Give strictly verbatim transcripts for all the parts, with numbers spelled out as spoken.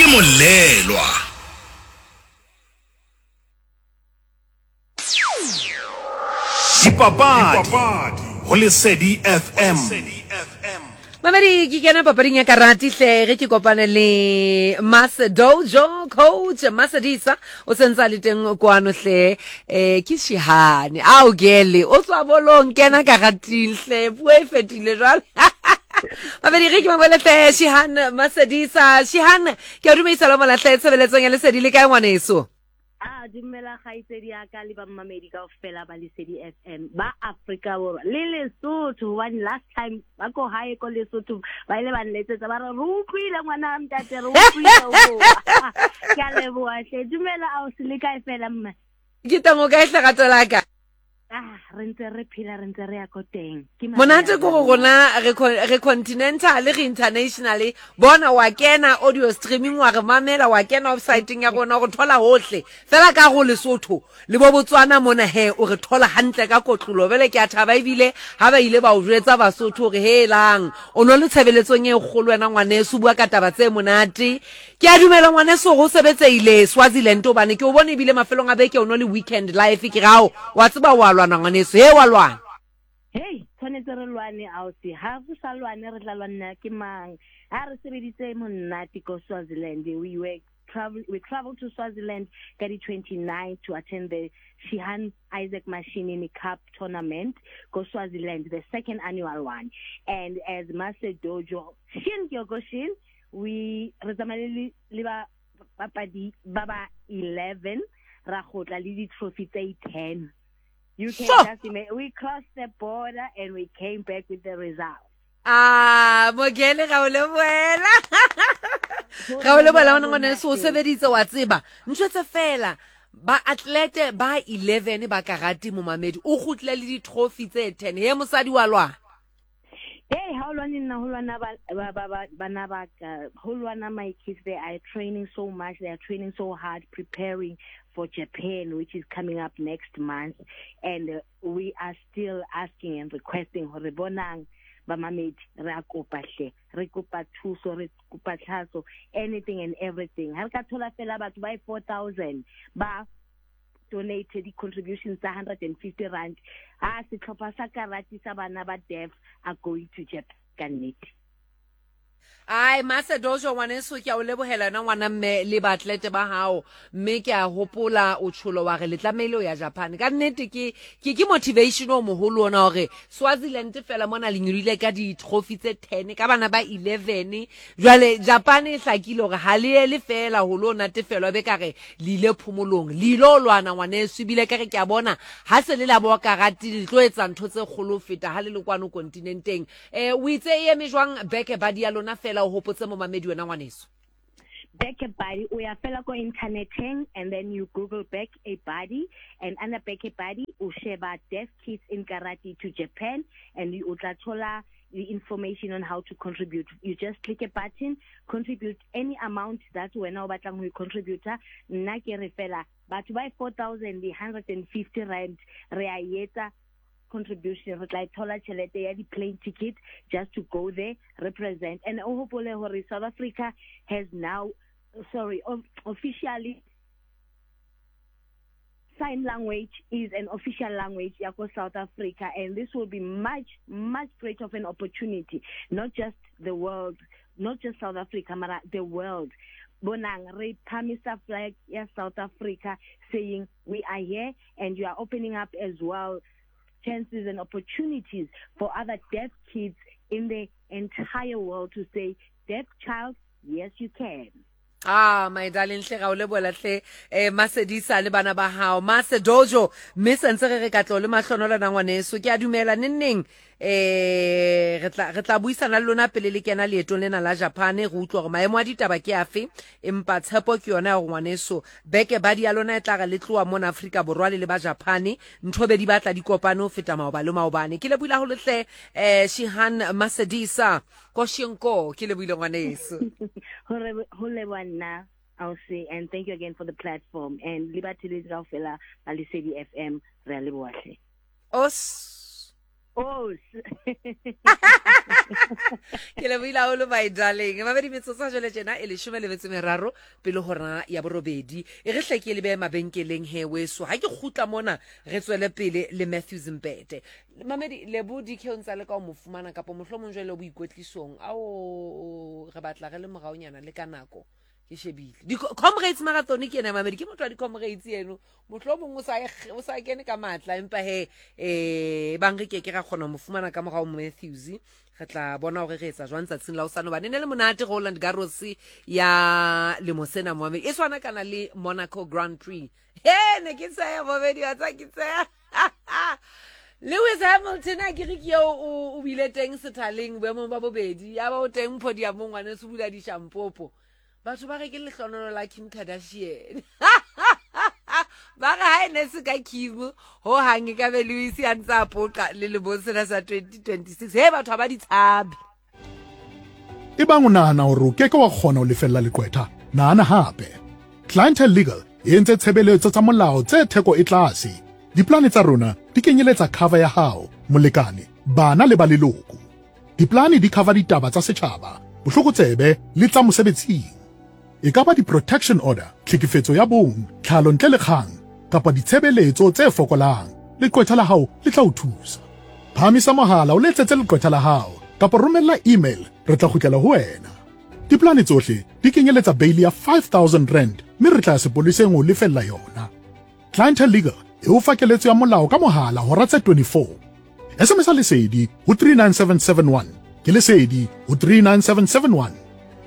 Ke Molelwa. Dipapadi go Lesedi F M. Mamedi, ke kena papading ya karate hle ge ke kopane le Mas Dojo coach Masedisa o sentse a le teng kwano hle eh ke Shihane ao gele o tswa bolong kena karating hle puo e fetile jwale. Mamedi ge ke mabole hle Shihan Masedisa. Shihan ke a dumedisa le mola hle tshebeletsong ya Lesedi le kae ngwaneso? Ah, dumela kgaitsedi ya ka le ba mmamedi kaofela ba Lesedi F M ba Afrika Borwa le Lesotho, hobane last time ba ko hae ko Lesotho ba ile ba nletsetsa ba re re utlwile ngwana ntate, re utlwile o. Ke a leboha hle. Dumela ausi, le kae fela mme? Ke teng, o kae hle rato la ka? Ah, re ntse re phela, re ntse re ya ko teng. Ke monate ko go rona, re re continental, re international. Bona wa kena audio streaming wa re mamela, wa kena website-eng ya rona, o re thola hohle fela ka go Lesotho le bo Botswana mona he, o re thola hantle ka kotlolo. Bele ke a thaba ebile ha ba ile ba o jwetsa Basotho hore helang o no le tshebeletsong e kgolo wena ngwaneso, bua ka taba tse monate. Ke a dumela ngwaneso go sebetseile Swaziland, hobane ke o bone ebile mafelong a beke o no le weekend life. Ke rao wa tseba wa lwana ngwaneso, he wa lwana. Hey, tshwanetse re lwane ausi, ha re sa lwane re tla lwana ke mang? Ha re sebeditse monate ko Swaziland. We were travel we traveled to Swaziland ka di twenty-nine to attend the Shihan Isaac Mashinini Cup tournament ko Swaziland, the second annual one. And as Master Dojo Shin Kyokushin, we re tsamaile le ba papadi ba ba eleven, ra gotla le di trophy tse ten. You can sure. just imagine, we crossed the border and we came back with the result. Ah, Mogele ga o le boela. Ga o le boela ngwana ngwaneso, o sebeditse wa tseba. Ntho tse fela ba athlete ba eleven ba karate momamedi o kgutle le di trophy tse ten. He mosadi wa lwana. Hey, how lwana nna ho lwana ba ba ba bana ba ka, ho lwana my kids, they are training so much, they are training so hard, preparing for Japan, which is coming up next month, and uh, we are still asking and requesting hore bonang ba mamedi re a kopa hle, re kopa thuso, re kopa tlhaso, anything and everything. Ha re ka thola fela batho ba four thousand ba donated the contributions one hundred fifty rand, ah setlhopha sa karate sa bana ba deaf are going to Japan ka nnete. Ai Master Dojo ngwaneso, ke a o lebohela na ngwana mme le baatlete ba hao, mme ke a hopola o tsholo wa re le tlamehile ho ya Japan. Ka nnete ke ke ke motivation o moholo ona hore Swaziland fela mona le nyolile ka di trophy tse ten ka bana ba eleven. Jwale Japan e hlakile hore ha le ele fela ho lo natefelwa be ka re le ile phomolong, le ilo lwana ngwaneso, ebile ka re ke a bona ha se le la bo karate le tlo etsa ntho tse kgolo ho feta ha le le kwano kontinenteng. Eh o itse e eme jwang beke ba di ya lona fela o hopotse momamedi wena ngwaneso? Back a Buddy, o ya fela ko interneteng and then you Google Back a Buddy, and under Back a Buddy o sheba Deaf Kids in Karate to Japan, and you tla thola the information on how to contribute. You just click a button, contribute any amount that wena o batlang ho contribute. Nna ke re fela batho ba four thousand one hundred fifty rand re a etsa contribution, re tla thola tjhelete ya di plane ticket just to go there, represent. And o hopole hore South Africa has now, sorry, officially sign language is an official language ya ko South Africa, and this will be much, much greater of an opportunity, not just the world, not just South Africa, mara the world. Bonang re phamisa flag ya South Africa saying we are here, and you are opening up as well chances and opportunities for other deaf kids in the entire world to say, deaf child, yes you can. Ah, my darling, hle ga o lebohela hle eh Masedisa le bana ba hao Master Dojo, mme sentse re re katlo le mahlonola na ngwaneso. Ke a dumela nenneng eh re tla re tla buisana le lona pele le kena leetong lena la Japan, re utlwa hore maemo a ditaba ke afe, empa tshepo ke yona ya hore ngwaneso beke ba di ya lona e tla re le tloha mona Afrika Borwa le le ba Japan, ntho be di batla di kopane ho feta maoba le maobane. Ke lebohile haholo hle eh Shihan Masedisa Koshenko, ke lebohile ngwaneso. Hore ho leboha nna ausi, and thank you again for the platform, and le batheletsi kaofela ba Lesedi F M, re a leboha hle. Os Oh. Ke lebohile haholo my darling. Mabedi metsotso jwale tjena e leshome le metso meraro pele hora ya borobedi. E re hle ke le behe mabenkeleng he weso. Ha ke kgutla mona re tswele pele le Matthews Mpete. Mamedi Lebo D K o ntsa le ka o mo fumana kapa mohlomong jwale boikwetlisong. Ao re batla re le moraonyana le ka nako. Ke shebile. Di Comrades Marathon ke ena mamedi ke motho wa di Comrades eno. Mohlomong o sa o sa kene ka matla empa he eh bang re ke ke ra kgona mo fumana ka morao Matthews. Re tla bona hore re etsa jwang tsatsing la hosane hobane ne le monate Roland Garros ya lemo sena moamedi. E tshwana kana le Monaco Grand Prix. He ne ke tsaya momedi wa tsa ke tsaya. Lewis Hamilton a ke re ke eo o bile teng sethaleng boemong ba bobedi ya ba o teng podiumong ngwane se bula dishampopo. Batho ba re ke lehlonono la Kim Kardashian. Ba re ha e ne se ka Kim ho hang e ka be Lewis a ntse a poqa le lemong sena sa twenty twenty-six. He batho ha ba di tshabe. Ebang o nahana hore o keke wa kgona ho lefella leqwetha, nahana hape. Clientele Legal e entse tshebeletso tsa molao tse theko e tlase. Diplane tsa rona di kenyeletsa cover ya hao, molekane, bana le ba leloko. Diplane di cover ditaba tsa setjhaba, bohlokotsebe le tsa mosebetsing. E ka ba di-protection order, tlhekefetso ya bong, tlhalo ntle le kgang, kapa ditshebeletso tse fokolang. Leqwetha la hao le tla o thusa. Phahamisa mohala o letsetse leqwetha la hao, kapa romella email, re tla kgutlela ho wena. Diplane tsohle di kenyeletsa bail ya five thousand rand, mme re tla ya sepoleseng ho lefella yona. Clientele Legal e o fa keletso ya molao ka mohala hora tse twenty-four. S M S Lesedi ho three nine seven seven one. Ke Lesedi ho three nine seven seven one.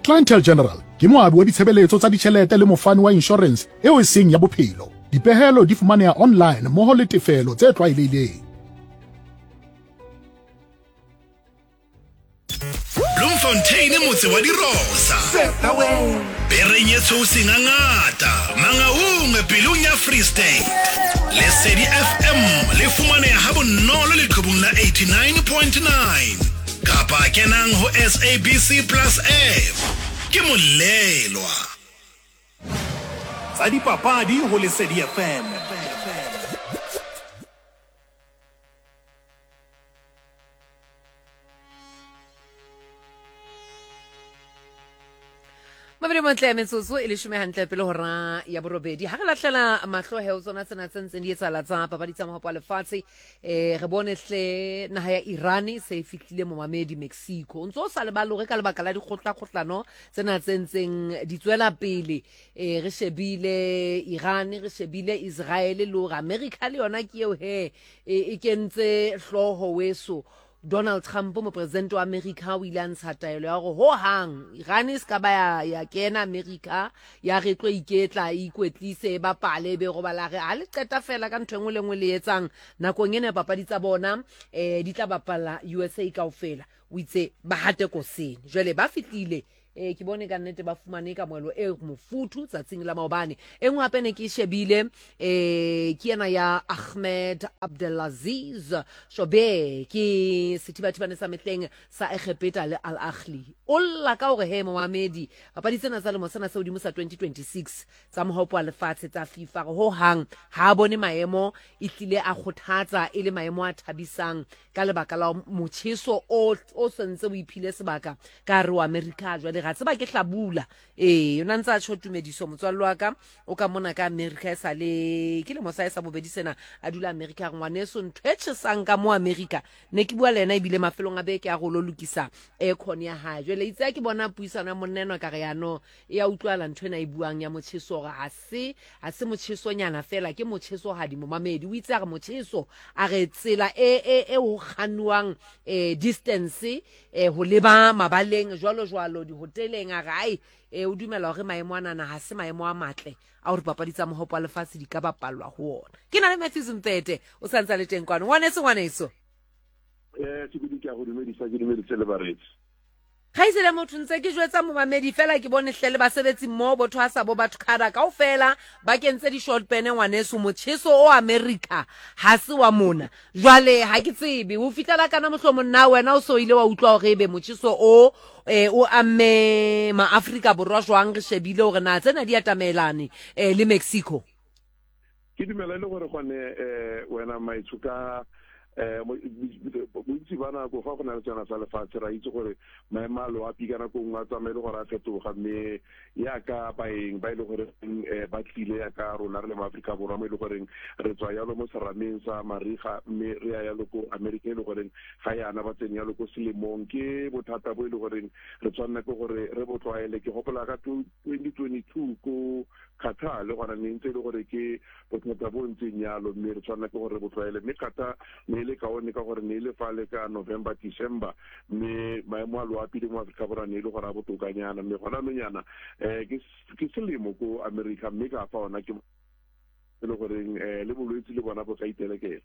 Clientele General ke moabi wa ditshebeletso tsa ditjhelete le mofani wa insurance eo e seng ya bophelo. Dipehelo di fumaneha online mmoho le tefelo tse tlwaelehileng. Bloemfontein motse wa dirosa. Bereng e tshweu sengangata, Mangaung pelong ya Free State. Lesedi F M le fumaneha ha bonolo leqhubung la eighty-nine point nine. Kapa kenang ho S A B C Plus F. Ke molelwa. Tsa dipapadi ho Lesedi F M. Mabedi montle metsotso e leshome hantle pele hora ya borobedi. Ha re lahlela mahlo he ho tsona tsena tse ntseng di etsahala tsa papadi tsa mohopo wa lefatshe, eh re bone hle naha ya Iran se e fihlile momamedi Mexico. O ntso o sa lebale hore ka lebaka la dikgohlakgohlano tsena tse ntseng di tswela pele, eh re shebile Iran, re shebile Israel le hore America le yona ke eo he e kentse hlooho weso. Donald Trump mopresidente wa America o ile a ntsha taelo ya hore ho hang Iran e ska ba ya, ya kena America ya re tlo iketla e ikwetlise e bapale be robala re ha le qeta fela ka ntho e nngwe le nngwe le etsang nakong ena ya papadi tsa bona eh di tla bapala U S A kaofela. O itse ba hate koseng jwale ba fihlile eh ke bone ka nnete ba fumane kamohelo e mofuthu tsatsing la maobane. E nngwe hape ne ke shebile eh ke ena ya Ahmed Abdelaziz Shobe ke sethibathibane sa mehleng sa Egepeta le Al Ahly. O lla ka hore he momamedi papadi tsena tsa lemo sena se hodimo sa twenty twenty-six tsa mohopo wa lefatshe tsa FIFA ho hang ha bone maemo e hlile a kgothatsa e le maemo a thabisang ka lebaka la motjheso o o sentse o iphile sebaka ka re wa America jwale ga tseba ke hlabula eh yona ntsa tjho tumediso motswallo wa ka o ka mona ka America e sa le ke lemo sa e sa bobedi sena a dula America re ngwaneso ntho e tjhesang ka mo America ne ke bua le yena ebile mafelong a beke a go lo lokisa aircon ya hae jwale itse ke bona puisano ya monna enwa ka re ya no e ya utlwala ntho ena e buang ya motjheso hore ha se ha se motjhesonyana fela ke motjheso hadi momamedi o itse a re motjheso a re tsela e e e ho kganwang eh distance eh ho leba mabaleng jwalo jwalo di hoteleng a re ai e o dumela hore maemo ana ha se maemo a matle a hore papadi tsa mohopo wa lefatshe di ka bapallwa ho ona. Ke na le Matthews Mpete o santsa le teng kwano. Ngwaneso ngwaneso. Eh ke ke a go dumedisa ke dumedise le baretsi. Kgaitsedi motho ntse ke jwetsa momamedi fela ke bone hle le basebetsi mmoho botho ha sa bo batho khada kaofela ba kentse di-short pene ngwaneso motjheso o America ha se wa mona. Jwale ha ke tsebe ho fihlela kana mohlomong nna wena o so ile wa utlwa hore ebe motjheso o eh o amme ma-Afrika Borwa jwang re shebile hore na tsena di atamelane eh le Mexico. Ke dumela le gore gone eh wena maitsho ka um bontsi ba nako fa go na le tsena sa lefatshe ra itse gore maemo a loapi ka nako nngwe a tsamaye le gore a fetoga, mme yaka baeng ba e le gore ba tlile yaka rona re le mo Aforika Borwa mo e le goreng re tswa yalo mo serameng sa mariga, mme re ya yalo ko Amerika e le goreng ga yana ba tsene yalo ko selemong. Ke bothata bo e le goreng re tshwanela ke gore re bo tlwaele. Ke gopola ka twenty twenty-two ko Qatar le gona ne ntse e le gore ke bothata bo ntseng yalo, mme re tshwanela ke gore re bo tlwaele. Mme Qatar ne e le kaone ka gore ne e le fale ka November, December, mme maemo a loapi le mo Aforika Borwa ne e le gore a botokanyana, mme gona nonyana um ke selemo ko America, mme ka fa ona ke e le goreng um le bolwetse le bona bo ka itelekela.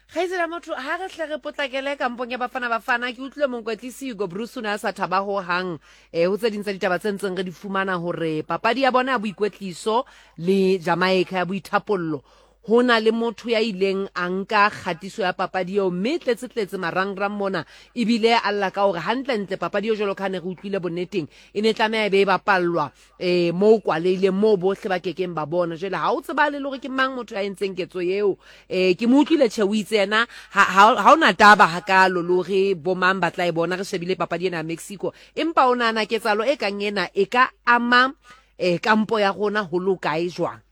Kgaitsedi motho, ha re tle re potlakele kampong ya Bafana Bafana, ke utlwile mokwetlisi Hugo Broos o ne a sa thaba ho hang eh ho tse ding tsa ditaba tse ntseng re di fumana hore papadi ya bona ya boikwetliso le Jamaica ya boithapollo, ho na le motho ya ileng a nka kgatiso ya papadi eo, mme tletse tletse marangrang mona, ebile a lla ka hore hantlentle papadi eo jwalo ka ha ne re utlwile bonneteng e ne tlameha e be e bapallwa eh moo kwaleileng moo bohle ba kekeng ba bona. Jwale ha o tsebale le hore ke mang motho ya entseng ketso eo. Eh ke mo utlwile tjhe, o itse yena ha ha ona taba hakalo le hore bo mang ba tla e bona, re shebile papadi ena ya Mexico, empa o nahana ketsahalo e kang ena e ka ama eh kampo ya rona ho lokae jwang?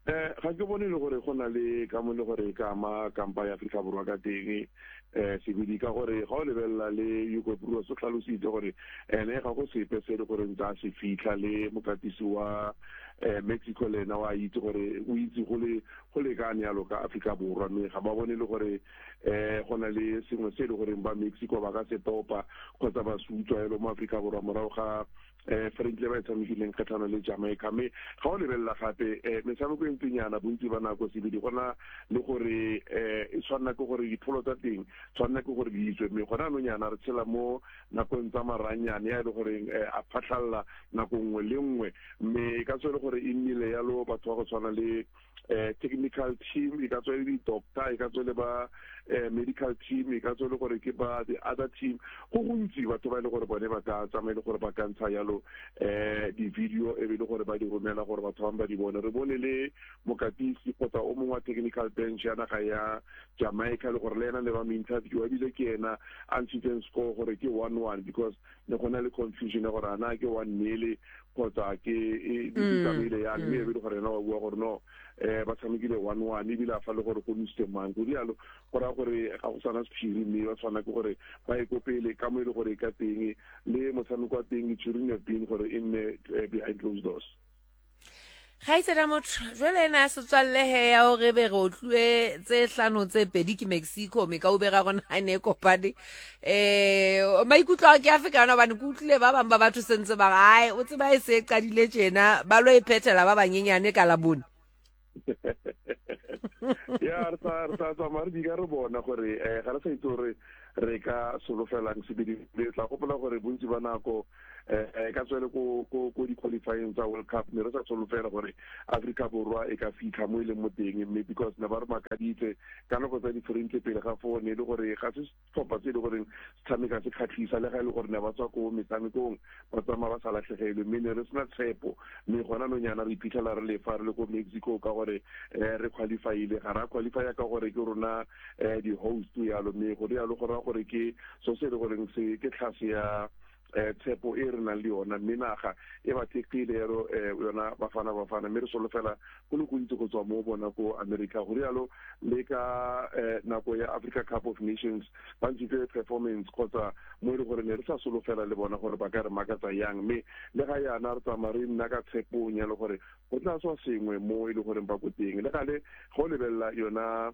Eh ga ke bone le gore go na le ka mo le gore ka ama kampa ya Afrika Borwa ka teng eh sebedi, ka gore ga o lebelela le Hugo Broos o tlhalositse gore ene ga go sepe se le gore ntse a se fitlha, le mokatisi wa eh Mexico le ena wa itse gore o itse go le go lekane yalo ka Afrika Borwa, mme ga ba bone le gore eh go na le sengwe se le goreng ba Mexico ba ka se topa kgotsa ba se utswa yalo mo Afrika Borwa morago ga eh friendly ba e tshamekileng kgatlhano le Jamaica. Mme ga o lebelela gape eh metshameko e ntsinyana bontsi ba nako sebedi gona le gore eh e tshwanela ke gore dipholo tsa teng tshwanela ke gore di itswe, mme gona nonyana re tshela mo nakong tsa maranyane ya e le goreng a phatlhalla nako nngwe le nngwe, mme e ka tswa e le gore e nnile yalo batho ba go tshwana le eh technical team, e ka tswa e le di-doctor, e ka tswa le ba eh medical team, e ka tswa le gore ke ba the other team. Go gontsi batho ba e le gore bone ba ka tsamaye le gore ba ka ntsha yalo eh di-video e be le gore ba di romela gore batho bangwe ba di bone. Re bone le mokatisi kgotsa o mongwe wa technical bench ya naga ya Jamaica le gore le ena ne ba mo interview, ebile ke ena a ntshitseng score gore ke one one, because ne go na le confusion ya gore a na ke one nil kgotsa ke e di tsamaile yang, mme e be le gore ena wa bua gore no eh ba tshamekile one one, ebile a fa le gore go nositse mang go rialo, go raya gore ga go sana sephiri, mme ba tshwana ke gore ba ye ko pele ka mo e le gore e ka teng le motshameko wa teng it shouldn't have been gore e nne behind closed doors. Kgaitsedi motho, jwale ena ya setswalle he ya hore be re otluwe tse hlano tse pedi ke Mexico, me ka ubera rona ha ne kopane eh maikutlo a ke a feka yona, hobane ke utlwile ba bang ba batho sentse ba re ai o tseba e se qadile tjena, ba lo e phethela ba banyenyane ka labone. Ya re sa re sa tsamaya re di ka re bona gore eh ga re sa itse gore re ka solofelang sebedi. Le tla gopola gore bontsi ba nako eh ka tswele ko ko ko di-qualifying tsa World Cup ne re sa solofela gore Afrika Borwa e ka fitlha mo e leng mo teng, mme because ne ba re makaditse ka nako tsa di-friendly pele ga foo ne e le gore ga se setlhopha se e le goreng se tshameka se kgatlhisa, le ga e le gore ne ba tswa ko metshamekong ba tsamaya ba sa latlhegelwe, mme ne re sena tshepo. Mme gona nonyana re iphitlhela re lefa re le ko Mexico ka gore eh re qualifyile, ga ra qualifya ka gore ke rona eh di-host yalo, mme go rialo go raya gore ke so se e le goreng se ke tlhase ya eh tshepo e re nang le yona, mme naga e ba thekgile yalo eh yona Bafana Bafana, mme re solofela go le gontsi go tswa mo bona ko America. Go rialo le ka eh nako ya Africa Cup of Nations ba ntshitse performance kgotsa mo e le gore ne re sa solofela le bona gore ba ka re makatsa yang, mme le ga yana re tsamaya re nna ka tshepong ya le gore go tla tswa sengwe mo e le goreng ba ko teng. Le gale go lebelela yona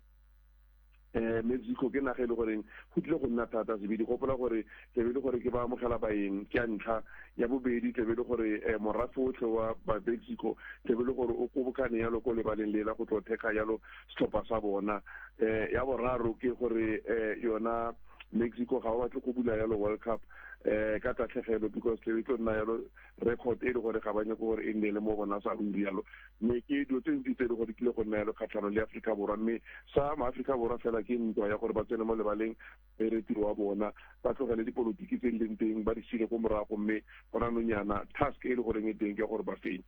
eh Mexico ke naga e le goreng go tlile go nna thata sebedi. Gopola gore tlebe le gore ke ba amogela baeng ke ya ntlha, ya bobedi tlebe le gore morafe otlhe wa ba Mexico tlebe le gore o kgobokane yalo ko lebaleng lela go tlo thekga yalo setlhopha sa bona. Eh ya boraro ke gore eh yona Mexico ga ba batle go bula yalo World Cup eh ka tatlhegelo, because tlebe tlo nna yalo record e le gore ga ba nyake gore e nne le mo bona sa ruri yalo, mme ke dilo tse ntsi tse e le gore kile go nna yalo kgatlhanong le Afrika Borwa. Mme sa maAforika Borwa fela ke ntwa ya gore ba tsene mo lebaleng bere tiro wa bona, ba tlogele dipolotiki tse di leng teng ba di sile ko morago, mme gona nonyana task e le goreng e teng ke gore ba fenye.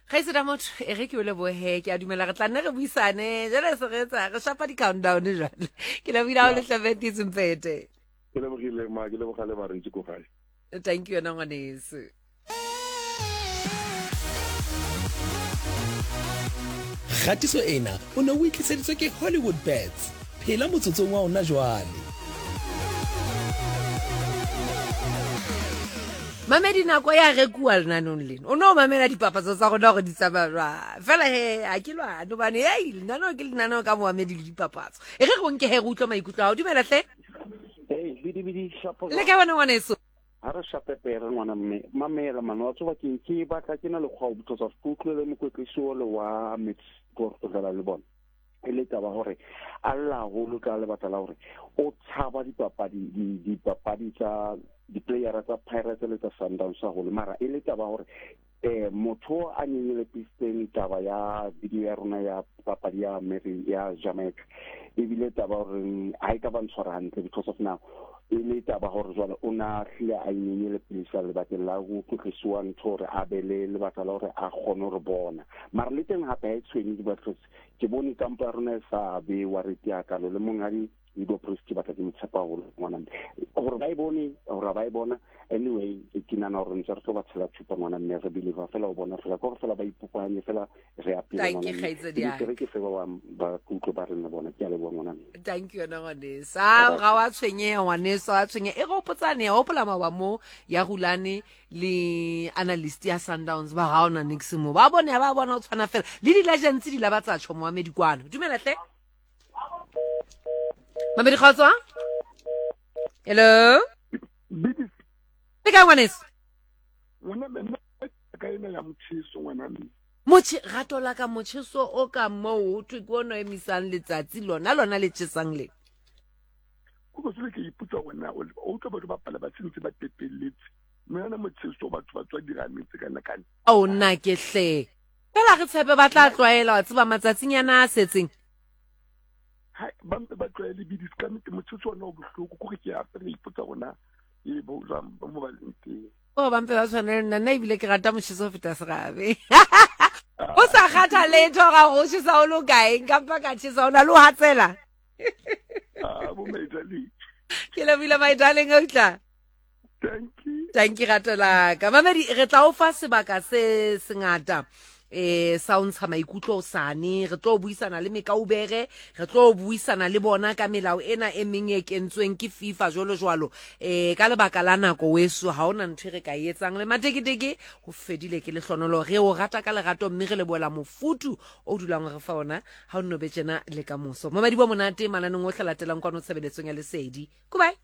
Kgaitsedi motho e re ke o lebohe, ke a dumela re tla nne re buisane jale se re etsa re shapa di-countdown jwale. Ke lebohile ha o le hlabetitse Mpete. Ke lebogile ma, ke leboga le barentsi ko gae. Thank you yona ngwaneso. Kgatiso ena o ne o e tliseditswe ke Hollywood Bets. Phela motsotsong wa ona jwale. Mamedi nako ya rekuwa lenanong lena. O no mamela dipapatso tsa rona hore di tsamaya jwang. Fela he ha ke lwane hobane hei lenaneo ke lenaneo ka moamedi le dipapatso. E re re o nke he re utlwe maikutlo a hao. Dumela hle. Hey, bidi bidi shapo. Le kae wena ngwaneso? Ha re shape pere ngwana mme. Mamela man, wa tseba ke ke batla ke na le kgwa because of ke utlwile mokwetlisi ole wa Mexico go dlala le bona. E le taba hore a lla haholo ka lebaka la hore o tshaba dipapadi di dipapadi tsa di-playera tsa Pirates le tsa Sundowns haholo, mara e le taba hore eh motho a nyenyelepisitseng taba ya video ya rona ya papadi ya Mary ya Jamaica ebile taba hore ha e ka ba ntshwara hantle because of now e le taba hore jwale o na hlile a inyenyelepisa lebakeng la ho tlotlisiwa ntho hore a be le lebaka la hore a kgone hore bona. Mara le teng hape ha e tshwenye because ke bone kampo ya rona e sa bewa re tia kalo le monghadi Hugo Broos ke batla ke mo tshepa haholo ngwana mme. Hore ba e bone, hore ba e bona, anyway ke nahana hore ntse re tlo ba tshela tshupa ngwana mme, re believe fela o bona fela ke hore fela ba ipopanye fela re a phela Thank you, ngwana mme. kgaitsedi ya Ke re ke fe ba bang ba kutlwe ba rena bona. Ke a leboha ngwana mme. Thank you yona ngwaneso. Ah, ga wa tshwenyeha ngwaneso, wa tshwenyeha. E re hopotsane, ya hopola maoba mo ya Rulane le analyst ya Sundowns ba ga ona nix mo. Ba bone ba bona o tshwana fela. Le di-legends di la ba tsa tjho moamedi kwano. Dumela hle. Mamedi kgotso? Hello? Bidi. Le kae ngwaneso? Ngwana mme ka ena ya motjheso ngwana mme. Motjhe rato la ka motjheso o ka moo ho thwe ke ono emisang letsatsi lona lona le tjhesang le. Go go sele ke ipotsa wena o utlwa batho ba pala ba sentse ba tepelletse. Mme yona motjheso batho ba tswa dirametse kana kana. Ao nna ke hle. Fela re tshepe ba tla tlwaela wa tseba matsatsinyana a setseng. Ha ba mpe ba tlwaele bidi ka nnete motjheso ona o bohloko kore ke a re ipotsa rona e bo jwang ba mo ba leng teng. O ba mpe ba tshwane le nna, nna ebile ke rata motjheso ho feta serabe. O sa kgathale letho ga go tjhesa o lo kae, nka mpa ka tjhesa o na le ho hatsela. Ah, bo my darling. Ke lebohile my darling o tla. Thank you. Thank you rato la ka. Mamedi re tla o fa sebaka se sengata. Eh sa o ntsha maikutlo sane, re tlo buisana le mekaubere, re tlo buisana le bona ka melao ena e meng e kentsweng ke FIFA jwalo jwalo. Eh ka lebaka la nako weso ha ona ntho e re ka e etsang le mateketeke ho fedile ke lehlonolo. Re o rata ka lerato mme re lebohela mofuthu o dulang re fa ona ha o nno be tjena le ka moso. Mamedi bo monate mananeng ohle latelang kwano tshebeletsong ya Lesedi. Goodbye.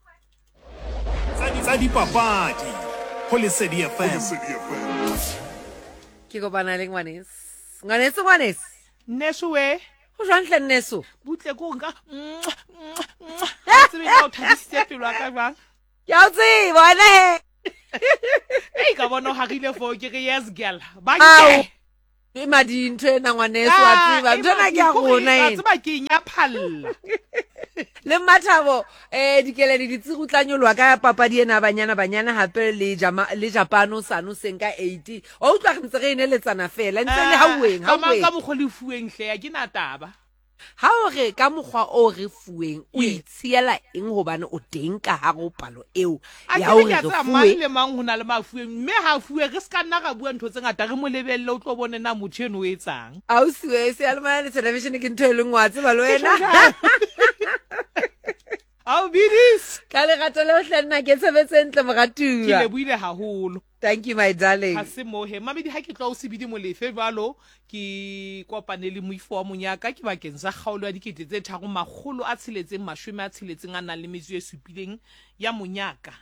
Tsa dipapadi ho Lesedi F M. Ke kopana le ngwaneso. Ngwaneso, ngwaneso. Nneso we. Ho jwang hle nneso? Butle ko nka. Tsebe ka o thabisitse pelo ya ka jwang? Ke a o tseba wena he. Ei ka bona o harile foo ke re yes girl. Ba Ao. ke. E madi ntho ena ngwaneso wa tseba. Ntho ena ke ya rona ena. ena. Tseba ke nyaphalla. Le Mathabo eh dikeledi di tsirutla nyoloha ka papadi ena banyana banyana hape le jama le Japan o sano seng ka eight. O utlwa re ntse re eneletsana fela ntse le hauweng Ka mang hauweng. ka mokgwa le fuweng hle ya ke na taba. Ha o re ka mokgwa o re fuweng o Yes. itshiela eng hobane o teng ka hare ho palo eo A ya ke re hore ke a re tseba mang fuwe. le mang ho na le mafuweng mme ha fuwe re ska nna ra bua ntho tse ngata re mo lebelle o tlo bone na motho eno o etsang. Ausi we seyalemoya le television ke ntho e leng wa tseba le Ke wena. tjho jwalo. Ao bidis. Ka lerato leo hle nna ke tshebetse ntle Ke moratuwa. lebohile haholo. Thank you my darling. Ha se mohe mamedi ha ke tloha o sebidi Molefe jwalo ke kopane le moifo wa monyaka ke bakeng sa kgaolo ya dikete tse tharo makgolo a tsheletseng mashome a tsheletseng a nang le metso e supileng ya monyaka.